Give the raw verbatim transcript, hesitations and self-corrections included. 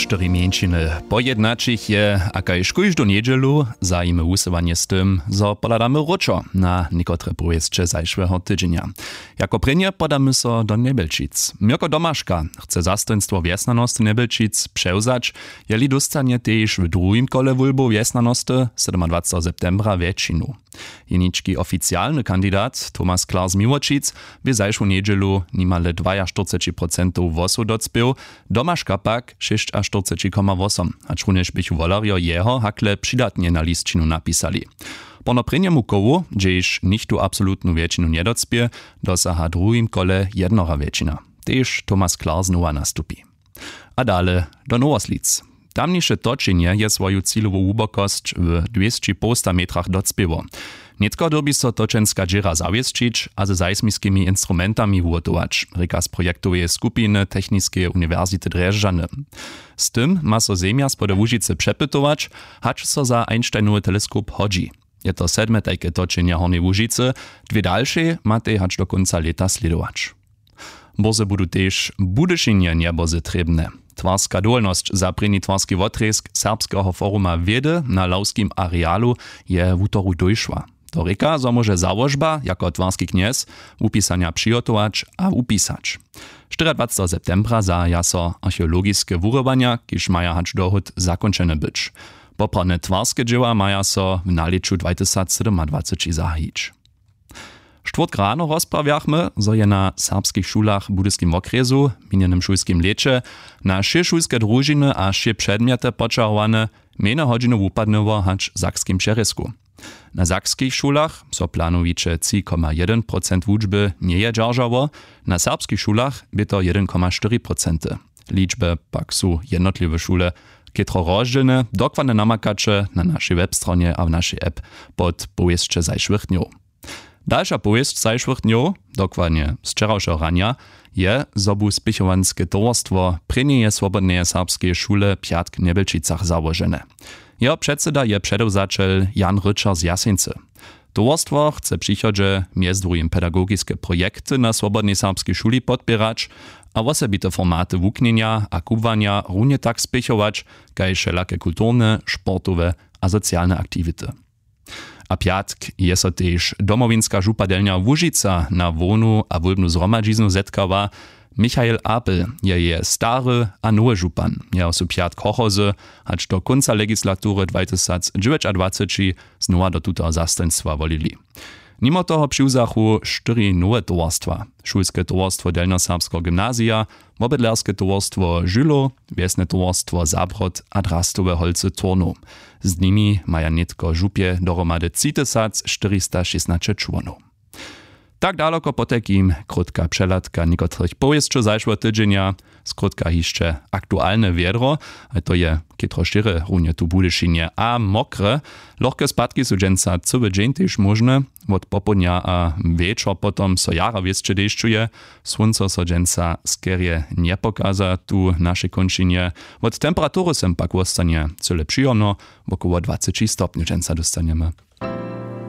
Štyri mjeńšiny pojednaćich je a kaž kóždu njedźelu zajimy wusyłanje z tym, zo pohladamy wróćo na někotre powěsće zašłeho tydźenja. Jako prěnje podamy so do njebelčic. Měrko domaška chce zastojnstwo wjesnjanosty njebelčic přewzać, jeli dóstanje tež w druhim kole wólbow wjesnjanosty sydomadwaceteho septembra wjetšinu. Jenički oficialny kandidat tomas klar z miłočic bě zašłu njedźelu nimale dwajaštyrceći procentow hłosow docpěł, domaška pak šěsćaštyrceći koma wosom, hačrunjež běchu wolerjo jeho hakle přidatnje na lisćinu napisali. Pono prěnjemu kołu, hdźež nichtó absolutnu wjetšinu njedocpě, dosaha w druhim kole jednora wjetšina. Tež tomas klar znowa nastupi. A dale do nowoslic. Tamniše točenje je swoju cilowu hłubokosć w dwěsći połsta metrach docpěło. Nětko dyrbi so točenska dźěra zawěsćić a ze seismiskimi instrumentami wuhotować, rěka z projektoweje skupiny techniskeje uniwersity drježdźany. Z tym ma so zemja spod łužicy přepytować, hač so za einsteinowy teleskop hodźi. Je to sedme tajke točenje hornjeje łužicy. Dwě dalšej matej hač do kónca lěta slědować. Bórze budu tež w budyšinje njebozy trěbne. Twarska dowolnosć za prěni twarski wotrězk serbskeho foruma wědy na lawskim arealu je wutoru dóšła. To rěka zo móže załožba jako twarski knjez wupisanja přihotować a wupisać. Štyriadwaceteho septembra zahaja so archeologiske wurywanja, kiž maja hač dohód zakónčene być. Poprawne twarske dźěła maja so w nalěću dwatysacsydomadwaceći zahajić. Štwórtk rano rozprawjachmy, zo je na serbskich šulach w budyskim wokrjesu w minjenym šulskim lěće na wšě šulske družiny a wšě předmjety poćahowane. Mjejne hodźiny wupadnyło hač w sakskim přerězku. Na sakskich šulach so planowiće tři koma jedyn procent wučby njeje dźeržało, na serbskich šulach bě to jedyn koma štyri procenty. Ličby pak su jednotliwe šule chětro rozdźělne. Dokładnje namakaće na našej webstronje a w našej app pod powěsće zašłych dnjow. Dalša powěsć zašłych dnjow, dokładnje z wčerawšeho ranja, je zo bu spěchowanske towarstwo prěnjeje swobodneje serbskeje šule pjatk w njebelčicach załožene. Jeho předsyda je předewzaćel jan ryćer z jaseńcy. Towarstwo chce w přichodźe mjez druhim pedagogiske projekty na swobodnej serbskej šuli podpěrać a wosebite formaty wuknjenja a kubłanja runje tak spěchować kaž wšelake kulturne, sportowe a socialne aktiwity. A pjatk je so tež domowinska župadelnja łužica na hłownu a wólbnu zhromadźiznu zetkała. Michael apel je jeje stary a nowy župan. Jeho su pjatk hochozy hač do kónca legislatury dwatysacdźewjećadwaceći znowa do tutoho zastojnstwa wolili. Nimo toho přiwzachu štyri nowe towarstwa: šulske towarstwo delnjoserbskeho gymnazija, wobydlerske towarstwo žylow, wjesne towarstwo zabrod a drastowe holcy turnow. Z nimi maja nětko w župje dohromady třitysac štyrista šěsnaće čłonow. Tak daloko potajkim krótka přehladka někotrych powěsćow zašłeho tydźenja. Skrótka hišće aktualne wjedro, a to je chětro šěre runje tu w budyšinje a mokre. Lochke spadki su dźensa cyły dźeń tež móžne. Wot popołdnja a wječor potom so jara wěsće dešćuje. Słónco so dźensa skerje njepokaza tu w našej kónčinje. Wot temperatury sym pak wostanje cyle přijomno. Wokoło dwaceći stopnjow dźensa dóstanjemy.